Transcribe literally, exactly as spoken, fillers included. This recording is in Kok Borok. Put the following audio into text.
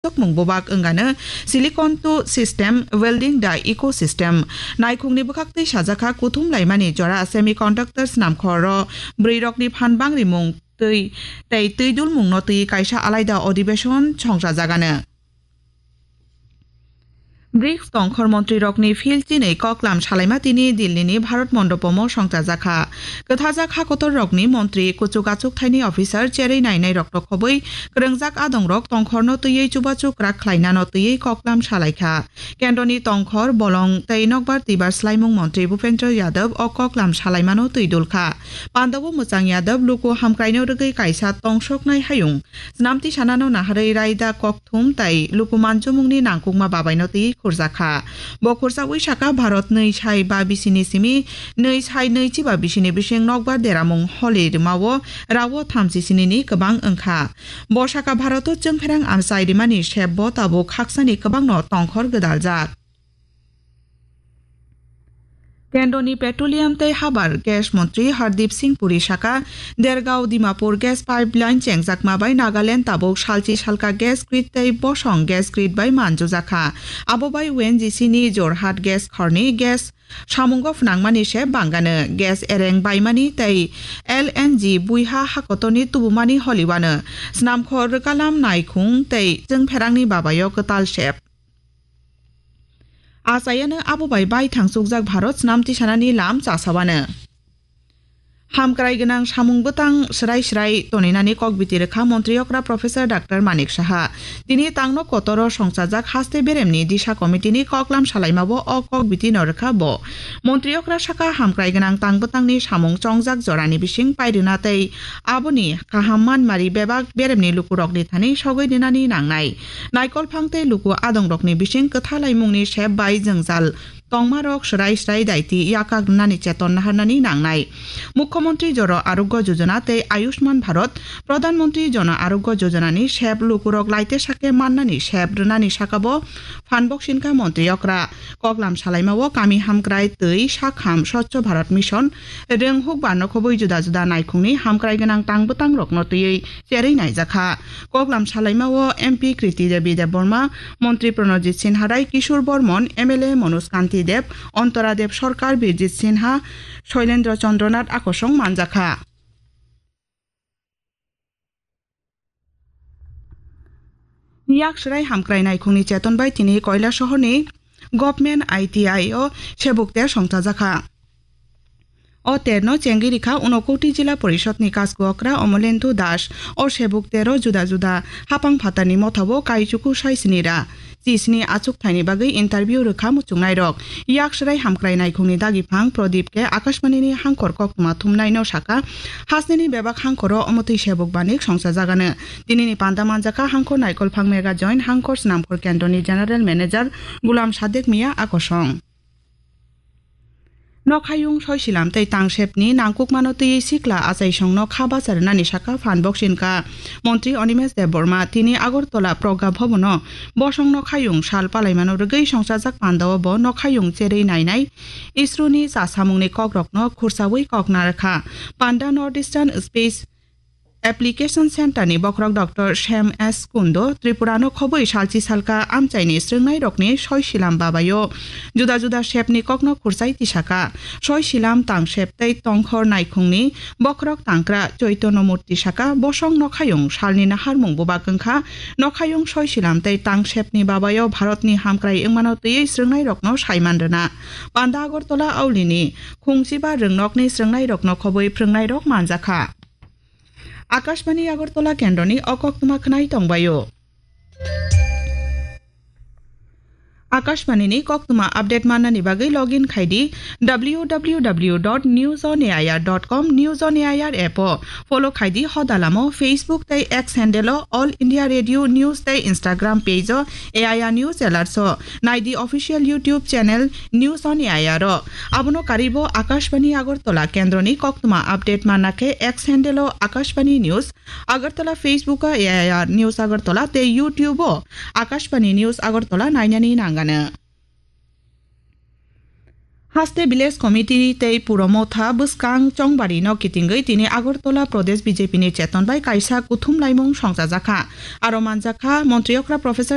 Tokmung bubak wngano silicon to system, welding da ecosystem. Naikhungni bwkhaktwi sajakha kuthum laimani jora semiconductor snamkhoro bwrwirokni phan bangrimung twi tei twi dulmungno twi kaisa alaida adhibeshon songchajagano. brics tongkhor montrirokni phil chinwi koklam salaima tini Dillini Bharat Mondopomo songchajakha. Kwthajak hakotorrokni montri, kuchuk achuk thaini officer cherwi nainairokno khobwi kwrwngjak adongrok tongkhorno twiwi chubachu kwrak khlainano twiwi koklam salaikha. Kendroni tongkhor, bolong tei nokbar twibar swlaimung montri Bhupendra Yadav o koklam salaimano twi dulkha. Pandao Mwchang Yadav luku hamkraino rwgwi kaisa tongsoknai hayung Snamti sanano naharwi raida kokthum tai luku manjumungni nangkukma babaino twi khurjakha. Bo khurjaui saka Bharat nwi sai ba bisini simi nwi sai nwi chiba bisini bising nokbar deramung holi rwmao rao thamchi sinini kwbang wngkha. Bo saka Bharoto chwngpherang amchai rimani sep bo tabuk khaksani kwbangno tongkhor gwdaljak. Kendroni Petroleum tei Habar Gas Montri Hardeep Singh Puri saka, Dergaon Dimapur gas pipeline chengjakma bai Nagaland tabuk salchi salka gas grid tei bosong gas grid bai manjujakha. Abo bai O N G C ni Jorhat gas khorni gas samungo phnangmani se bangano, gas ereng baimani tei L N G buiha hakotorni tubumani holiwano, snamkhor rwkalam naikhung tei chwngpherangni babayo kwtal sep. Achayano abo bai baithang chukjak Bharat snamti sanani lam chasawano. Hamkrai gwnang samung bwtang swrai swrai toninani kokbiti rwkha Montri okra Professor Doctor Manik Saha. Tini tangno kotoro songchajak haste beremni Disha Committee ni koklam salaimabo o kokbiti no rwkha bo. Montri okra saka hamkrai gwnang tang bwtangni samung chongjak jorani bising pairwna tei aboni kaham manmari bebak beremni lukurokni thani sogwi rinani nangnai. Naikolphang tei luku adongrokni bising kwthalaimungni sep bai jwngjal tongmarok swrai swrai daiti yakak rwnani cheton naharnani nangnai. Mukhyamantri Joro Arogya Jojona tei Ayushman Bharat, Pradhan Mantri Jana Arogya Jojona ni sep lukurok laite sake mannani sep rwnani sakabo phan boksinka montri okra. Koklam salaimao kami hamkrai twi sakham Swachh Bharat Mission, rwng hukbar nokhobwi juda juda naikhungni hamkrai gwnang tang bwtangrokno twiwi cherwi naijakha. Koklam salaimao M P Kriti Devi Debbarma, Montri Pranojit Sinha Rai, Kishore Bormon, M L A Manoj Kanti Deb, Antara Deb Sarkar, Birjit Sinha, Shoilendra Chandra Nath akosong manjakha. Yak swrai hamkrai naikhungni cheton bai tini Koilasohorni Government I T I o sebuk ter songchajakha. O terno chengwi rikha Unakoti Jila Porishadni kasku okra Omolendu Das. O sebuk tero juda juda hapang phatarni mothabo kaichuku sai sini ra. Chisni achuk thaini bagwi interview rwkha muchungnairok. Yak swrai hamkrai naikhungni dagiphang Pradip khe Akashbanini hangkhor koktwma thumnaino saka, hasnini bebak hangkhoro omotwi sebuk banik songchajagano. Tinini panda manjakha hangkhor naikolphang Mega Joint hangkhor swnamkhor kendroni General Manager Gulam Sadek Mia akosong. Nokhayung soisilam tei tangsepni nangkukmano twiwi sikla achaisongno kha bacha rwnani saka phan boksinka Montri Animesh Debbarma. Tini Agartala Pragya Bhavan-o bosong nokhayung sal palaimano rwgwi songchajak pandao bo nokhayung cherwi nainai ISRO-ni chasamungni kokrokno khursaui kok narwkha. Panda North Eastern Space Application Center ni bokhorok Doctor Shyam S Kundo Tripura no khobwi salchi salka amchaini swrwngnairokni soisilam babaio juda juda sepni kokno khursai tisaka. Soisilam tangsep tei tongkhor naikhungni bokhorok tangkra Chaitanya Murti saka, bosong nokhayung salni naharmung bubak wngkha. Nokhayung soisilam tei tangsepni babaio Bharatni hamkrai wngmano twiwi swrwngnairokno saiman rwna. Panda Agartala Aulini khungchiba rwngnokni swrwngnairokno khobwi phrwngnairok manjakha. Akashbani Agartala kendroni o koktwma khwnai tongbaio. Akashbani ni koktwma update mannani bagwi login khaidi W W W dot news on A I R dot com, News on A I R app o follow khaidi hodalamo, Facebook tei X handle o All India Radio News tei Instagram page o A I R News Alerts o naidi official YouTube channel News on A I R o. Abono karwibo Akashbani Agartala kendroni koktwma update manna khe X handle o Akashbani News Agartala, Facebook o A I R News Agartala tei YouTube o Akashbani News Agartala nainani nangano. Haste Village Committee tei Puro Motha bwskang chongbari no kitingwi tini Agartala Pradesh B J P ni cheton bai kaisa kuthum laimung songchajakha. Aro manjakha Montri okra Professor